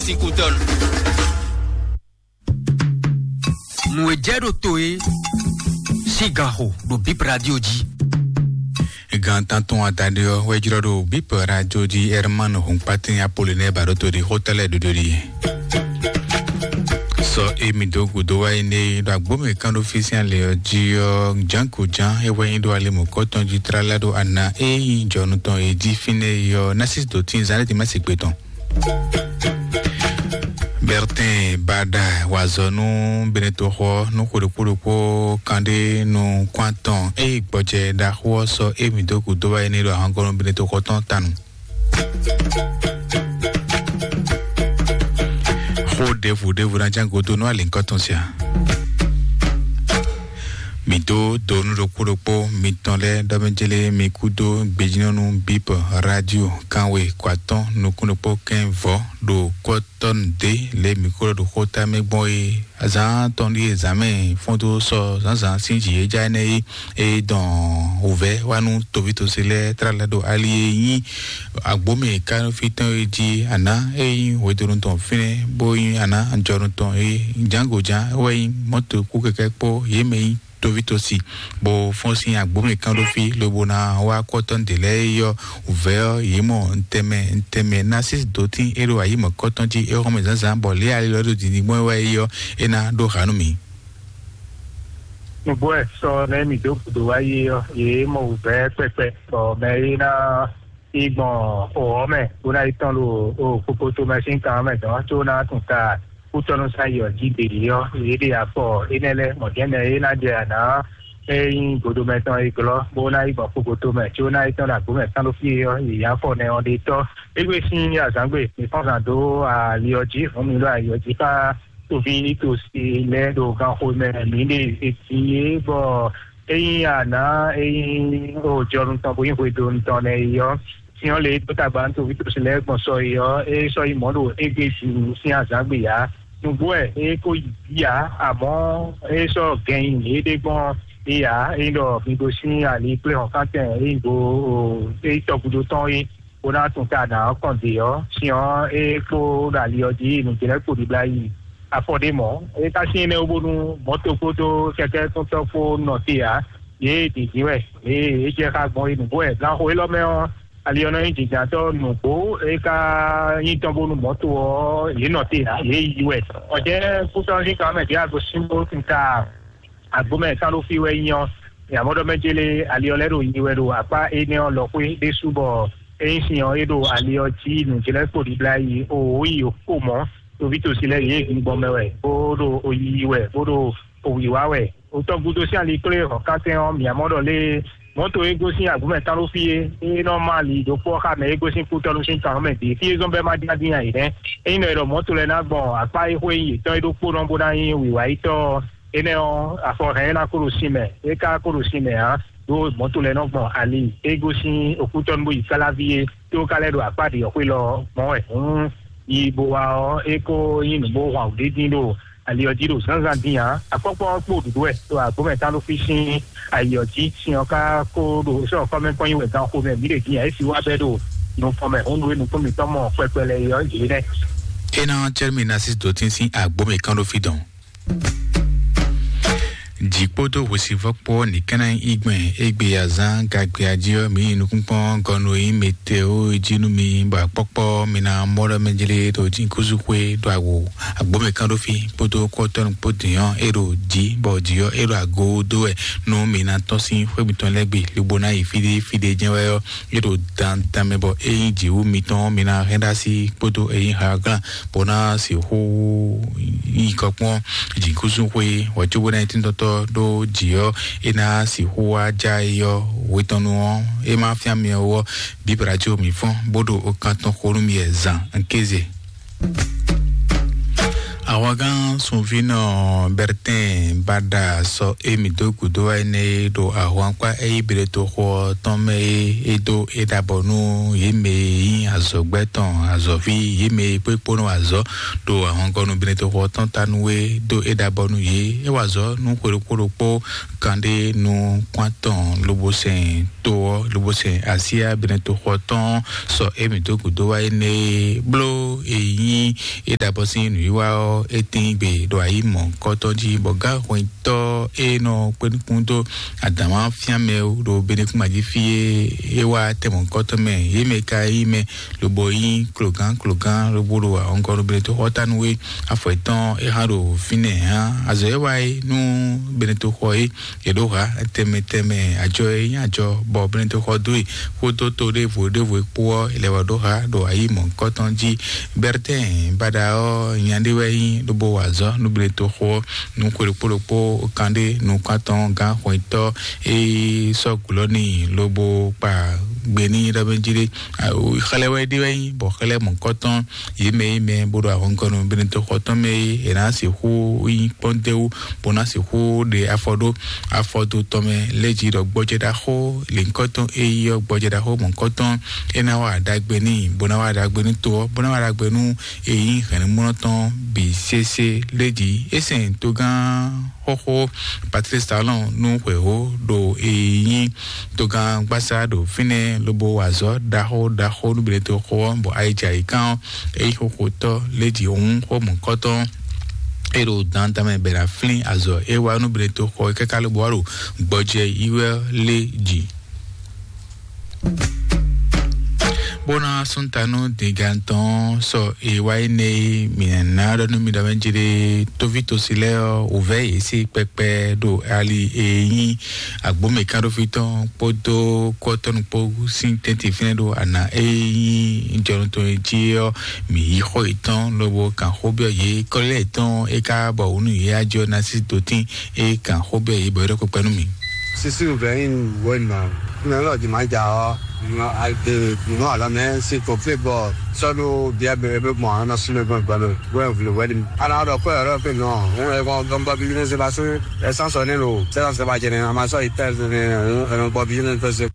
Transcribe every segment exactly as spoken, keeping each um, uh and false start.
Tikutɔn. Nǔ e jɛ ɖo to e sín ganxo ɖo Bip Radio jí. Gan tántɔn adaɖé ɔ́ wɛ jlɔ́ ɖo Bip Radio jí. Herman Hunkpatin Apollinaire Baɖótoli xó tɛ́ lɛ́ɛ ɖoɖo ɖi. Sɔ e mì dó gǔdo wá yi nɛ ɖo agbómɛ kán ɖó fí sín alɛ ɔ́ jí ɔ́, jǎnko jǎn é wɛ nyí ɖo ali mɔ̌kɔ́ tɔn jí tlala ɖo ana e nyí jɔnu tɔn e jí fínɛ́ é ɔ́, ná sí dǒ tín zán lɛ́ɛ dín má se gbe tɔn. Bertin Bada wa azɔ̌ nú Benetoxɔ nú xwe ɖokpó ɖokpó kanɖé nukún atɔn eye gbɔjɛ ɖaxó ɔ́ sɔ́ émí dó gǔdo wá é ní ɖo ahɔngɔ́ nú Benetoxɔ tɔn tanu. Xó ɖěvo ɖěvo ná ján godó nú alǐnkɔ́ tɔn sia. Mǐ dó donu ɖokpó ɖokpó mitɔn lɛ́ɛ ɖɔ mɛ jélé mi kúdó gbejínɔ́nú Bíp Radio kánwe kɔ atɔ́n nukún ɖokpó kɛ́n vɔ̌ ɖo kɔ́tɔ́nu dě lě mi kó ɖɔ ɖo xóta mɛ gbɔn é. Azǎn tɔn ɖíe zǎnmɛ fɔ́n dó sɔ zǎnzǎn sín jǐ é já énɛ́ é, é dɔn wǔvɛ́ wá nú toví tosi lɛ́ɛ tlá lɛ́ɛ ɖo ali e nyí agbǒmɛ kánfí tɔn é jí. Aná é nyí hwedonu tɔn fínɛ́ bó nyí aná jɔnu tɔn é. Jǎngo jǎn é wɛ nyí mɔ̌to kú kɛkɛ́ kpó yě mɛ nyí toví tosi bó fɔ́n sín agbǒmɛ kán ɖó fí lobo ná wá kɔ́tɔ́ ɖě lɛ́ɛ é yɔ́ vɛ̌ ɔ́ yě mɔ ntɛmɛ ntɛmɛ ná sí dǒtín é ɖo ayǐ mɔ̌kɔ́tɔn jí é xɔ́mɛ zǎnzǎn bɔ lě ali lɔ ɖo dǐndín gbɔn é wá é yɔ́ é ná ɖó xǎ nú mì. Nǔgbó ɛ sɔ nɛ́ mǐ dó gǔdo wá yi ɔ́, yě mɔ wǔvɛ́ kpɛkpɛ, bɔ mɛ e ná yi gbɔn xɔ̌ mɛ bó ná yi tɔ́n ɖo kpokpoto mɛ sín kan mɛ dɔn có ná tún ta kútɔ́nú sá yi ɔ́ jí ɖe yě ɔ́, yě ɖe afɔ énɛ́ lɛ́ɛ mɔ̌dɛ́nɛ é ná jɛ anǎ é nyí godomɛ tɔn e glɔ́ bó ná yi gbɔn kpokpoto mɛ có ná yi tɔ́n ɖo agbǒ mɛ kán ɖó fí é ɔ́, yě afɔ nɛ ɔ́ ɖe tɔ́. Égbé sín azǎngbe mǐ fɔ́n zǎn dó ali ɔ́ jí, hǔn mǐ ɖo ali ɔ́ jí xá toví nítòsí lɛ́ɛ ɖo ganxo mɛ mǐ ɖe eti é bɔ é nyí aná é nyí jɔnu tɔn bó nyí hwedonu tɔn nɛ́ é ɔ́, sin ɔ́ lě e dó tagba nú toví tɔn lɛ́ɛ gbɔn sɔ é ɔ́, é sɔ́ yi mɔ̌ ɖo égbé jí sín azǎn gbe ǎ. Nǔgbó wɛ é ko yi jí ǎ, amɔ̌ é sɔ́ gɛn nyi yěɖée gbɔn é ǎ. É nyí ɖɔ mi gosín ali kplé hɔ̌nkántɛn é nyí go é nyí tɔgúdo tɔn é, bó ná tún ta nǎ ɔ́ kɔn dě ɔ́, sin ɔ́ é kpó ɖo ali ɔ́ jí nǔjlɛ́kpo ɖibla yi afɔ ɖé mɔ̌. É ka sín énɛ́ wú bónú mɔ̌to kpódó kɛkɛ́ tɔn kpó nɔ te ǎ. Yě ɖě jí wɛ, yě é jɛ xá gbɔn é nǔgbó wɛ. Ganxo élɔ́ mɛ ɔ́, ali ɔ́ nɔ nyí jǐnjǎntɔ́ nǔgbó é ka nyí tɔn bónú mɔ̌to ɔ́, yě nɔ te ǎ, yě yi wɛ. Ɔ̌jɛ́ kútɔ́ sín kan mɛ ɖěe a gosín bó tún ta agbǒmɛ kán ɖó fí wɛ nyí ɔ́, mǐ mɔ ɖɔ mɛ jélé ali ɔ́ lɛ́ ɖo yi wɛ ɖo akpá énɛ́ ɔ́ lɔxwé ɖésú bɔ é nyí sin ɔ́, é ɖo ali ɔ́ jí nǔjlɛ́kpo ɖibla yi òwò yi kpo mɔ̌. Toví tosi lɛ́ɛ yě gbɔn mɛ wɛ, bó ɖo oyiyi wɛ, bó ɖo owǐwá wɛ. Òtɔn gúdo sín ali kplé hɔ̌nkántɛn ɔ́, mǐ mɔ ɖɔ lé mɔ̌to e gosín agbǒmɛ tán ɖó fí é, é nɔ má ali ɖokpó ɔ́ xá mɛ e gosín kútɔ́nú sín kan ɔ́ mɛ bǐ. Fí e zɔ́n bɛ́ má dín adín ǎ yě nɛ́. Ényí nɔ è ɖɔ mɔ̌to lɛ́ɛ ná gbɔn akpá e xwé nyí yětɔn é ɖokpónɔ bó ná nyí wǐwáyítɔ́ ɔ́, énɛ́ ɔ́, afɔ hɛn é ná kó ɖo sin mɛ, é ka kó ɖo sin mɛ ǎ, ɖó mɔ̌to lɛ́ɛ nɔ gbɔn ali e gosín òkútɔ́nú bó yi Káláví é, tó ka lɛ́ ɖo akpá ɖě ɔ́ xwé lɔ gbɔn wɛ. Hǔn yi bó wá ɔ́, é kó nyí nǔ bó hwan wǔɖé dín ɖo ali ɔ́ jí ɖo zǎnzǎn dín ǎ. Akpɔ́kpɔ́ ɔ́ kpo ɖuɖu wɛ ɖo agbǒmɛ tán ɖó fí sín ali ɔ́ jí. Sin ɔ́ ka kó ɖo sɔ́ kɔ́mɛ́kpɔ́ nyi wɛ ganxo mɛ mǐ ɖe dín ǎ. É si wá bɛ́ ɖo nukɔn mɛ hǔn nú e nukún mǐtɔn mɔ kpɛkpɛ lɛ́ɛ é ɔ́, yě nɛ́. É ná cɛ́ mì ná sí dǒ tín sín agbǒmɛ kán ɖó fí dɔn. Jǐ kpódó hwesivɔ́ kpó ní ká ná nyí gbɛn égbé azán gagbe ají ɔ́, mǐ yi nukúnkpɔ́n gɔnu e nyí meteo jí nú mi, bɔ akpɔ́kpɔ́ mi ná mɔ ɖɔ mɛ jlé ɖo jǐkúzú xwé ɖo awo agbǒmɛ kán ɖó fí kpódó kɔ́tɔ́nu kpó dǐn ɔ́, é ɖo jǐ, bɔ jǐ ɔ́ é ɖo ago dó wɛ nú mi ná tɔ́n sín xwé mitɔn lɛ́ɛ gbe, lobo ná yi fíɖé fíɖé jɛ́n wɛ ɔ́, é ɖo dandan mɛ bɔ é nyí jǐwú mitɔn ɔ́, mi ná hɛn ɖó así kpódó é nyí haglán bó ná sixú nyí kɔ kpɔ́n jǐkúzú xwé wɛ cóbó ná nyí tíntɔ́tɔ́ ɖó jǐ ɔ́, é ná sixú wá já é ɔ́ hwetɔ́nu ɔ́, é má fyán mi ɔ́ ɔ́, bíbra có mi fɔ́n bó ɖo okan tɔn xo nú mi wɛ zan kéze. Ahwangán sunvínɔ Bɛrtɛn bá ɖa sɔ émí dó gǔdo wá énɛ́ e ɖo ahwankpá e yí Beleto xo ɔ́ tɔn mɛ é, é dó é ɖabɔ nú yě mɛ e nyí azɔ̌gbɛ́ tɔn azɔ̌ví, yě mɛ e kpékpónɔ azɔ̌ ɖo ahwankɔ́ nú Beleto xo ɔ́ tɔn ta nú é dó é ɖabɔ nú yě. É wa azɔ̌ nú xwe ɖokpó ɖokpó kanɖé nukún atɔn lobo sɛn to ɔ́, lobo sɛn asyá Beleto xo ɔ́ tɔn sɔ émí dó gǔdo wá énɛ́ e bló e nyí é ɖabɔ sín nǔwiwa ɔ́, é tín gbe ɖo ayǐ mɔ̌hunkɔtɔn jí, bɔ gǎnhwɛntɔ́ e nɔ kpé nukún dó adǎnwáfíánmɛ ɖo Benekúnmají fí e é wá tɛn mɔ̌hunkɔtɔn mɛ, yě mɛ ka nyí mɛ lobo nyí klogán klogán lobo ɖo ahɔngɔ́ ɖo Benetoxɔ ta nú é. Afɔ yětɔn é hán ɖo fínɛ́ hán. Azɔ̌ e wa é nú Benetoxɔ é, è ɖǒ ha tɛnmɛ tɛnmɛ ajɔ e nyí ajɔ bɔ Benetoxɔ dó e kpódó to ɖěvo ɖěvo e kpó ɔ́, è lɛ́ wá ɖó ha ɖo ayǐ mɔ̌hunkɔtɔn jí. Bɛrtɛn baɖa ɔ́, nya ɖé wɛ nyí lobo wa azɔ̌ nú Benetoxɔ ɔ́, nú xwe ɖokpó ɖokpó kanɖé nukún atɔn gǎn xwɛntɔ́ e sɔ́ gǔlɔ́ n'i lobo kpa gbe n'i ɖɔ mɛ jí ɖé. Xlɛ́ wɛ ɖé wɛ nyí, bɔ xlɛ́ mɔ̌hunkɔtɔn yě mɛ e mɛ bó ɖo ahɔngɔ́ nú Benetoxɔ tɔn mɛ é, è nǎ sixú nyí kpɔ́ndéwú bó ná sixú ɖe afɔ ɖó afɔdo tɔn mɛ lɛ́ jí ɖɔ gbɔjɛ ɖaxó lěhunkɔtɔn e yí ɔ́, gbɔjɛ ɖaxó mɔ̌hunkɔtɔn é ná wa ɖagbe n'i, bó ná wa ɖagbe nú to ɔ́, bó ná wa ɖagbe nú e nyí hɛ̌nnumlɔ́ tɔn bǐ sésé lɛ́ jí. É sɛn togán xóxó Patrice Talon nú xwěxó ɖo e nyí togán gbásá ɖo fínɛ́ lobo wa azɔ̌ ɖaxó ɖaxó nú Benetoxɔ ɔ́, bɔ ayǐjǎyǐkan ɔ́, é nyí xóxótɔ́ lɛ́ jí hǔn xó mɔ̌hunkɔtɔn é ɖo dandan mɛ bɛ ná flín azɔ̌ é wa nú Benetoxɔ é káká lobo wá ɖo gbɔjɛ yi wɛ lɛ́ jí. Bó ná súntanú dǐgantɔn sɔ e wá yi nɛ e mǐ ná ɖɔ nú mi ɖɔ mɛ jí ɖe tóví tosi lɛ́ɛ ɔ́, wǔvɛ́ yě sí kpɛkpɛ ɖo ali e nyí agbǒmɛkánɖófí tɔn kpódó kɔ́tɔ́nu kpó sín tɛ́ntin fínɛ́ ɖo ana e nyí jɔnɔ tɔn e jí ɔ́, mǐ yí xɔ yětɔn lobo kan xó byɔ́ yě kɔ́lɛ́ yětɔn é ká bɔ wǔ nú yě ajɔ ná sí dotín é kan xó byɔ́ yě bɔ é ɖɔ kpɛkpɛ nú mǐ. Sisi vɛyin wɛnma. Mɛ lɔ di ma ja ɔ. Nɔ alɔ mɛ si ko fi bɔ sɔdu bia bɛ bɛ mɔ ana sumɛ gbɔn gbɔn. Wɛ vle wɛ di. Ana dɔ kɔ yɔrɔ pe nɔ. Ŋun ɛ kɔn gɔn bɔ bi ne se ba se. Ɛsan sɔ ne lo. Sɛ sɛ ba jɛ ne ama sɔ yi tɛ ne. Ɛn bɔ bi ne pe se.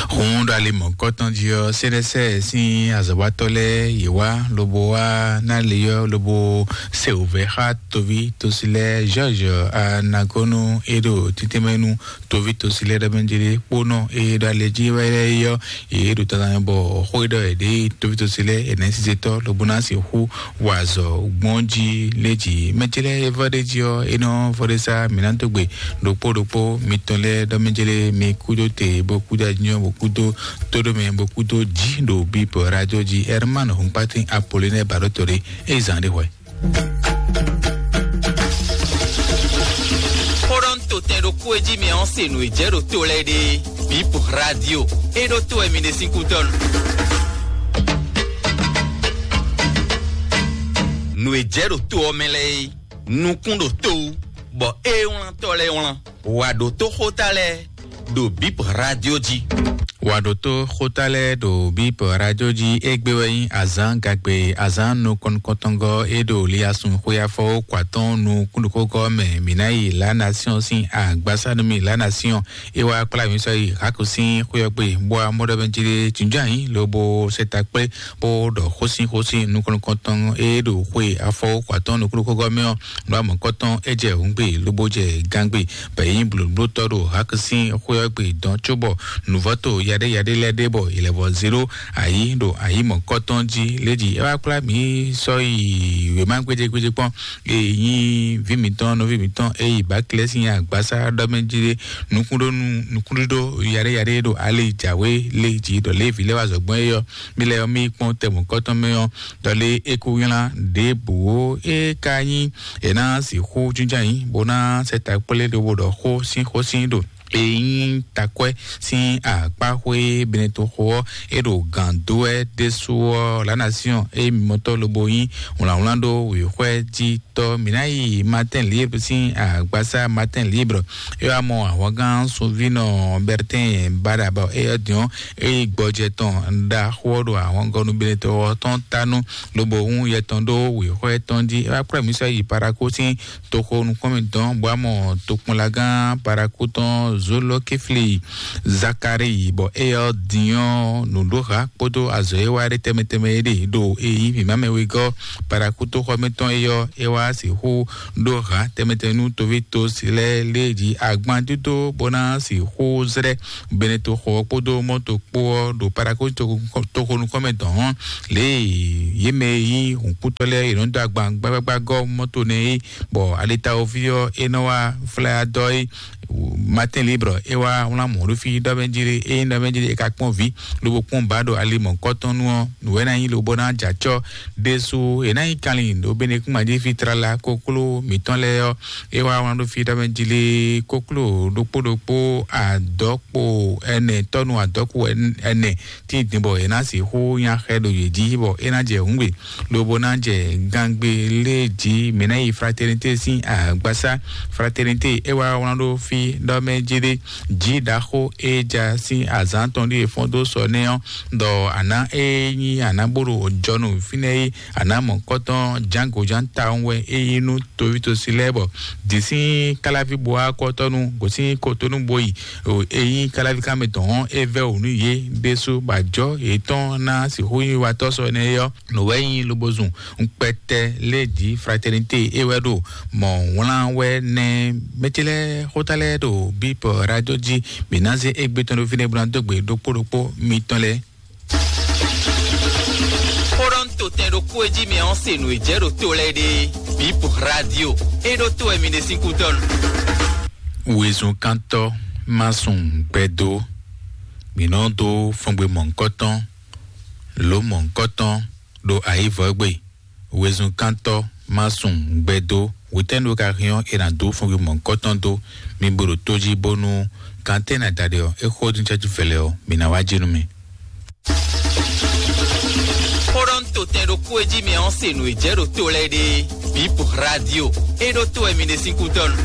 Hun ɖo ali mɔ̌kɔtɔn jí ɔ́, sɛ́nɛsɛ sín azɔ̌watɔ́ lɛ́ɛ yě wá lobo wá ná le ɔ́ lobo se wǔvɛ́ xá toví tosi lɛ́ɛ George Anagonu e ɖo títínmɛ nú toví tosi lɛ́ɛ ɖɔ mɛ jí ɖé kpónɔ e ɖo alɛ jí wɛ lɛ́ɛ é ɔ́, yě ɖo tata mɛ bɔ xó e ɖɔ yě ɖe toví tosi lɛ́ɛ è nɛ̌ sizetɔ́ lobo ná sixú wa azɔ̌ gbɔn jí lé jí. Mɛ ce lɛ́ɛ e vɔ ɖé jí ɔ́, é nɔ vɔ ɖé sá mǐ ná dó gbe ɖokpó ɖokpó mitɔn lɛ́ɛ ɖɔ mɛ ce lɛ́ɛ mi kúdó te bó kúdó anyɔ bó kúdó tóɖó mɛ bó kúdó jí ɖo bíbɔ radio jí. Herman Hunkpatin Apolline Baɖótɔ́ ɖé é zǎn ɖé hwɛ. Xóɖɔ́ntotɛn ɖokpó e jí mi ɔ́ se nǔ e jɛ ɖo to lɛ́ɛ ɖe. Bip radio e ɖo to wɛ mi ɖe sín kútɔ́ nu. Nǔ e jɛ ɖo to ɔ́ mɛ lɛ́ɛ é, nukún ɖo to wú, bɔ é wlántɔ́ lɛ́ɛ wlán. Wǎ ɖótó xóta lɛ́ɛ ɖo Bip radio jí. Wǎ ɖótó xóta lɛ́ɛ ɖo Bip radio jí. Égbé wɛ nyí azǎn gagbe, azǎn nukɔn nukɔntɔngɔ́ é ɖo liasun xwéyáfɔ kwatɔn nukúnɖókógɔ́ mɛ. Mǐ ná yi La Nation sín agbásá nú mì. La Nation é wá kplá mǐ sɔ́ yi Hako sín xwé ɔ́ gbe, bó wá mɔ ɖɔ mɛ jí ɖé jǐnjɔ́n ayǐ lobo sɛ ta kplé bó ɖɔ xósín xósín nukɔn nukɔntɔn é ɖo xwe afɔ kwatɔn nukúnɖókógɔ́ mɛ ɔ́. Nǔ amɔ̌kɔtɔn é jɛ hǔngbe lobo jɛ gangbe, bɔ é nyí blǒblótɔ́ ɖo Haki sín xwé ɔ́ gbe dɔn cóbɔ nǔvɔ́to yaɖé yaɖé lɛ́ɛ ɖé bɔ è lɛ́ vɔ zéro ayǐ ɖo ayǐ mɔ̌kɔtɔn jí. Lédi é wá kplá mǐ sɔ́ yi wěma gbéjégbéjé kpɔ́n, e nyí vǐ mǐtɔn nɔví mǐtɔn e yi Baklɛ́ sín agbásá ɖɔ mɛ jí ɖé nukúnɖónú nukúnɖíɖó yaɖé yaɖé ɖo ali jǎwe lé jí ɖɔ Lévi lɛ́ wá zɔ̌gbɔn é ɔ́. Mí lɛ́ ɔ́, mí kpɔ́n tɛmɔ̌kɔtɔn mɛ ɔ́, ɖɔ lé é kó nylá ɖěbǔ ó é ka nyí è nǎ sixú jínjɔ́n ayǐ bó ná sɛ ta kplé lobo ɖɔ xó sín xó sín ɖo E nyí takwɛ́ sín akpáxwé Benetoxo ɔ́, é ɖo gǎn dó wɛ ɖésú ɔ́, La Nation e mimɔtɔ́ lobo nyí wlǎnwlán ɖó wěxwɛ́ jí tɔ́. Mǐ ná yi Matin Libre sín agbasá Matin Libre. É wá mɔ ahwangán sunvínɔ Bertin Badaba, é ɔ́ din ɔ́, é yí gbɔjɛ tɔn ɖaxó ɔ́ ɖo ahwangɔ́ nú Benetoxo ɔ́ tɔn tánu, lobo hún yɛ tɔn ɖó wěxwɛ́ tɔn jí. É wá kplá mǐ sɔ́ yi Paraku sín toxo nukɔn mǐtɔn, bɔ amɔ tokpɔnlagán Paraku tɔn Zolokifli Zakari, bɔ é ɔ́ din ɔ́, nǔɖoha kpódó azɔ̌ e wá ɖe tɛnmɛ tɛnmɛ é ɖe ɖo e nyí vǐmamɛ wegɔ́ Paraku toxɔ mǐtɔn é ɔ́, é wá sixú ɖó ha tɛnmɛ tɛnmɛ nú toví tosi lɛ́ɛ lé jí agban dídó bó ná sixú zlɛ́ Benetoxo ɔ́ kpódó mɔto kpó ɔ́ ɖo Paraku toxo nukɔn mɛ dɔn ɔ́, lě e yě mɛ e nyí hǔnkútɔ́ lɛ́ɛ yě nɔ dó agban gbágbágbá gɔ́ mɔto nɛ́ é, bɔ alitawoví ɔ́ é nɔ wá flá dɔ é. Matin Libre é wá wlán mɔ̌ ɖó fí ɖɔ mɛ jí lé, é nyí ɖɔ mɛ jí lé é ka kpɔ́n vǐ lobo kpɔ́n ba ɖo ali mɔ̌kɔtɔn nu ɔ́, nǔ wɛ ná nyí lobo ná jɛ acɔ́ ɖésú. È nǎ nyí kanlin ɖo Benekúnma jí fí tlala kokló mǐtɔn lɛ́ɛ ɔ́, é wá wlán ɖó fí ɖɔ mɛ jí lé, kokló ɖokpó ɖokpó adɔ̌kpo ɛnɛ, tɔ́nu adɔ̌kpo ɛnɛ tíndin bɔ è nǎ sixú nya xɛ ɖo yě jí bɔ é ná jɛ hǔngbe lobo ná jɛ gangbe lé jí. Mǐ ná yi Fraternité sín agbasá. Fraternité é wá wlán ɖó fí ɖɔ mɛ jí ɖé, jí ɖaxó é ja sín azǎn tɔn ɖíe fɔ́n dó sɔ nɛ́ ɔ́, ɖɔ àná é nyí àná bó ɖo jɔnu fínɛ́ é, àná mɔ̌kɔtɔn jǎngo jǎn tawun wɛ é nyí nú toví tosi lɛ́ɛ bɔ dǐ sín káláví bo wá kɔ́tɔ́nu gosín kotonu bo yi. Ényí káláví ká mɛ tɔn ɔ́, é vɛ́ wǔ nú yě ɖésú bɔ ajɔ̌ yětɔn ná sixú nyí watɔ́ sɔ énɛ́ é ɔ́, nǔ wɛ nyí lobo zun kpɛtɛ lé jí. Fraternité é wɛ ɖo mɔ̌ wlán wɛ nɛ́. Mɛ ce lɛ́ɛ xóta lɛ́ɛ ɖo Bip Radio jí. Mǐ ná zé égbé tɔn ɖó fínɛ́ bó ná dó gbe ɖokpó ɖokpó mitɔn lɛ́ɛ. Xó ɖɔ un to tɛn ɖokpó e jí mɛ ɔ́ se nǔ e jɛ ɖo to lɛ́ɛ ɖe. Bip Radio é ɖó to wɛ mi ɖe sín kútɔ́nu. Wezun kántɔ́ má sun gbɛdó. Mǐ nɔ dó fɔngbe mɔ̌hunkɔtɔn, lǒ mɔ̌hunkɔtɔn ɖo ayǐvɔ́gbe. Wezun kántɔ́ má sun gbɛdó. Wětɛ́nu ka hɛn ɔ́, è nǎ dó fɔngbe mɔ̌hunkɔtɔn dó. Mi bo ɖo tó jí bónú gantɛ́ ná da ɖe ɔ́, é xó dín cɛ́jú vɛlɛ ɔ́, mǐ ná wá jí nú mi. Xó ɖɔ un to tɛn ɖokpó e jí mɛ ɔ́ se nǔ e jɛ ɖo to lɛ́ɛ ɖe. Bip Radio é ɖó to wɛ mi ɖe sín kútɔ́nu.